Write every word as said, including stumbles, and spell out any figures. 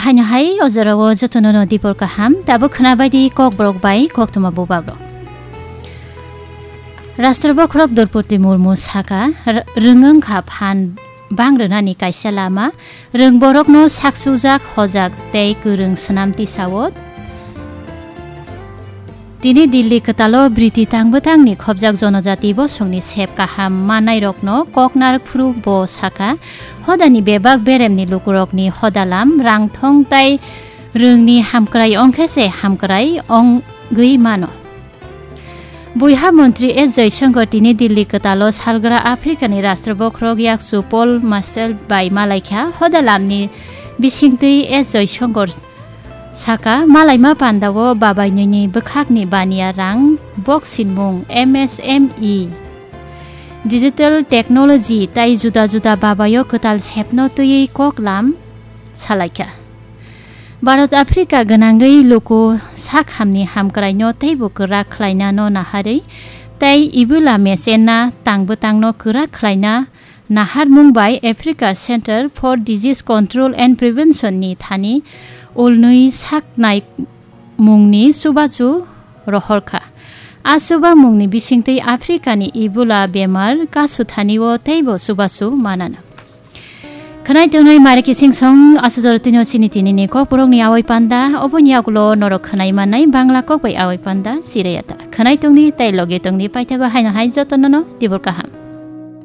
Haino hai o jorao jotono no dibor kaham, tabuk khwna bai di Kokborok bai koktwma bubagrok. Rashtra Bokhorok Droupadi Murmu saka, r-, rwngwng kha phan bang rwnani kaisa lama, rwngborokno saksujak, hojak tei kwrwng swnam tisao. Tini Delhi kwtalo briti tangbwtangni khobjak jonojati bosongni sep kaham manairokno koknar phuru bo saka, hodani bebak beremni lukurokni hodalam, rangthong tai rwngni hamkrai ongkhe se hamkrai ongwi mano. Buiha montri S Jaishankar tini Delhi kwtalo salgra Africani Rashtra Bokhorok yakchu Paul Mastel bai malaikha. Hodalamni bisingtwi S Jaishankar saka, malaima pandao babainini bwkhakni baniya rang, bok sinmung, M S M E, digital technology tai juda juda babaio kwtal sepno twiwi koklam salaikha. Bharat Africa gwnangwi luku sakhamni hamkraino teibo kwrak khlainano naharwi tei Ebola mechenna tangbwtangno kwrak khlaina naharmung bai Africa Center for Disease Control and Prevention ni thani ulnwi saknai mungni chubachu rohorkha. A chuba mungni bisingtwi Africa ni Ebola bemar kasu thanio teibo chubachu manana. Khwnai tongnai mari kising song asujor tino chini tini ni kokborok ni awai panda, oboni yagulo norok khwnai mannai Bangla kok bai awai panda, sirayata. Khwnai tongni tei loge tongni paithago haino hai jotono no dibor kaham.